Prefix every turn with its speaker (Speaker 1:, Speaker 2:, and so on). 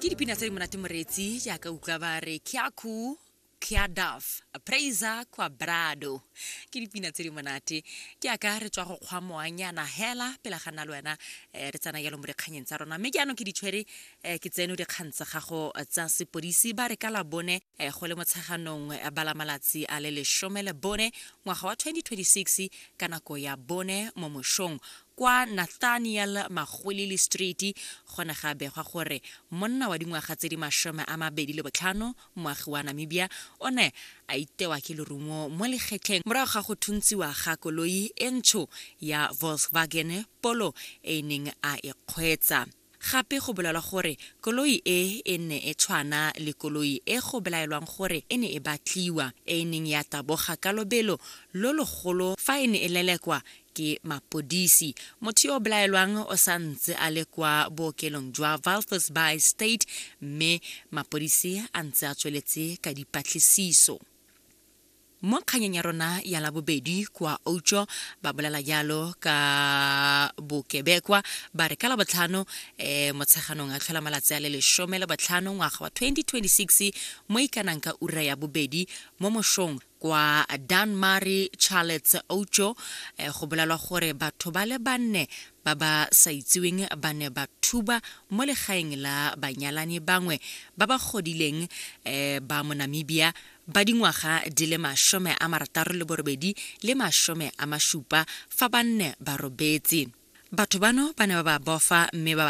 Speaker 1: Ke dipina tse di monate moreetsi jaaka utlwa ba re Kyaku Kyadaf Praiser Kwabrado. Ke dipina tse di monate. Ke aka re tswa go kgwa moanyana hela pele ga nna le wena eh, re tsena jalo mo dikganyeng tsa rona. Mme jaanong ke di tshwere eh, ke tseno dikgang tsa gago tsa sepodisi ba re ka la bone eh, go le motsheganong eh, ba la malatsi a le 14 ngwaga wa 2026 ka nako ya bone mo mošong Kwa Nathaniel Magwilili Street go ne ga begwa gore monna wa dingwaga tse di 25, moagi wa Namibia, o ne a itewa ke lerumo mo legetleng morago ga go thuntsiwa ga koloi e ntsho ya Volkswagen Polo e e neng a e kgweetsa. Gape go bolelwa gore koloi e e ne e tshwana le koloi e go belaelwang gore e ne e batliwa, e e neng ya taboga ka lobelo lo logolo fa e ne e lelekwa ke mapodisi. Motho yo o belaelwang o sa ntse a le kwa bookelong jwa Walvis Bay State mme mapodisi a ntse a tsweletse ka dipatlisiso. Mo kganyeng ya rona ya Labobedi kwa Outjo ba bolela jalo ka bokebekwa ba re ka Labotlhano um Motsheganong a tlhola malatsi a le 15 ngwaga wa 2026 mo ikanang ka ura ya bobedi mo mošong kwa Dunmurry Charlottes Outjo eh, go bolelwa gore batho ba le banne ba ba sa itsiweng ba ne ba thuba mo legaeng la banyalani bangwe ba ba godileng eh, ba mo Namibia ba dingwaga di le 68 le 70 fa ba nne ba robetse. Batho bano ba ne ba ba bofa mme ba ba.